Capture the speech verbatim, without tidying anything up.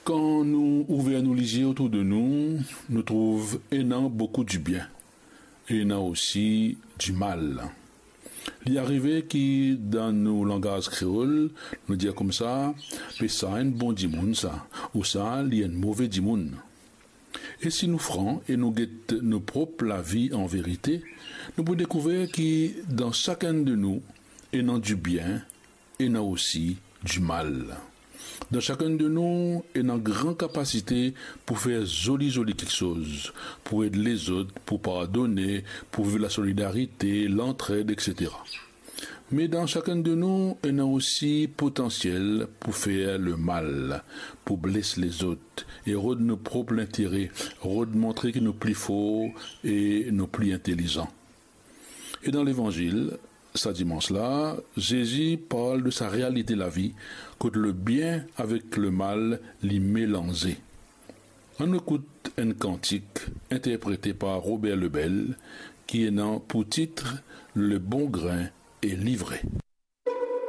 Kan nou ouver nou lizie otour de nou, nou trouv ena boukou dibien, e ena osi dimal. Li arive ki dan nou langaz kreol, nou dir koumsa, "Be sa enn bon dimoun sa," ou sa, "Li enn move dimoun." E si nou fran e nou get nou prop lavi an verite, nou pou dekouver ki dan sakenn de nou ena dibien, ena osi dimal. Dan sakenn de nou ena gran kapasite pou fer zoli zoli kiksoz, pou ed lezot, pou pardone, pou viv lasolidarite, lantred, etsetera. Me dan sakenn de nou ena osi potansiel pou fer lemal, pou bles lezot e rod nou prop lintere, rod montre ki nou pli for e nou pli intelizan. E dan Levanzil, sa dimans la, Zezi parl de sa realite lavi, kot lebien avek lemal li melanze. Annou ekout enn kantik interprete par Robert Lebel, ki ena pou tit Le bon grin e livre.